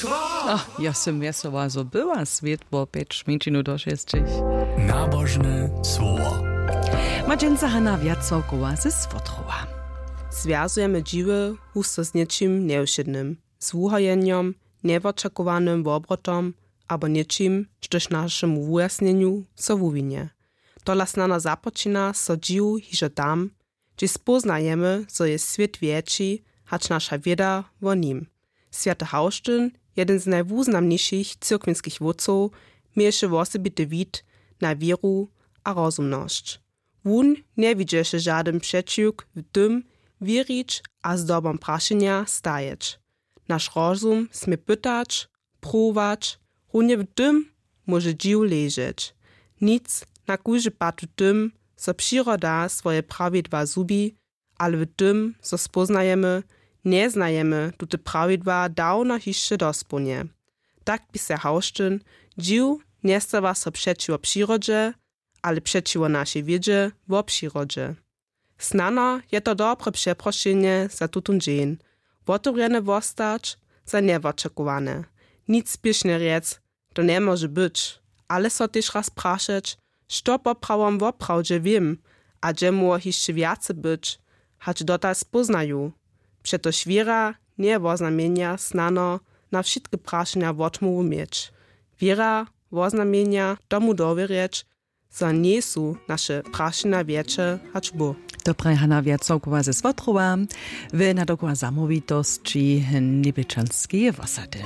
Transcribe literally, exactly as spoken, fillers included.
Oh, ja sym wjesoła zo była, swětło pjeć mjeńšinu do šesćich. Nabožne słowo. Ma dźensa Hana Wjacałkowa ze Słotrowa. Zwjazujemy dźiwy husto z něčim njewšědnym, z wuhajenjom, njewočakowanym wobrotom abo něčim, štož našemu wujasnjenju so wuwinje. Tola snano započina so dźiw hižo tam, hdźež spóznajemy, zo je swět wjetši hač naša wěda wo nim. Swjaty Hawštyn, jedyn z najwuznamnišich cyrkwinskich wótcow, měješe wosebity wid na wěru a rozumnosć. Wón njewidźeše žadyn přećiwk w tym, wěrić a zdobom prašenja stajeć. Naš rozum smě pytać, pruwować, runje w tym móže dźiw ležeć. Nic na kóždy pad w tym, zo přiroda swoje prawidła zhubi, ale w tym, zo spóznajemy, njeznajemy tute prawidła dawno hišće dospołnje. Tak piše Hawštyn: Dźiw njestawa so přećiwo přirodźe, ale přećiwo našej wědźe wo přirodźe. Snano je to dobre přeprošenje za tutón dźeń, wotewrjene wostać za njewočakowane. Nic spěšnje rjec, to njemóže być, ale so tež raz prašeć, što poprawom woprawdźe wěm a hdźe móhło hišće wjace być, hač dotal spóznaju. Přetož wěra njeje woznamjenja snano na wšitke prašenja wotmołwu měć. Wěra woznamjenja tomu dowěrjeć, zo njejsu naše prašenja wjetše hač Bóh. To praji Hana Wjacałkowa ze Słotrowa w nadokoła zamołwitosći Njebječanskeje wosady.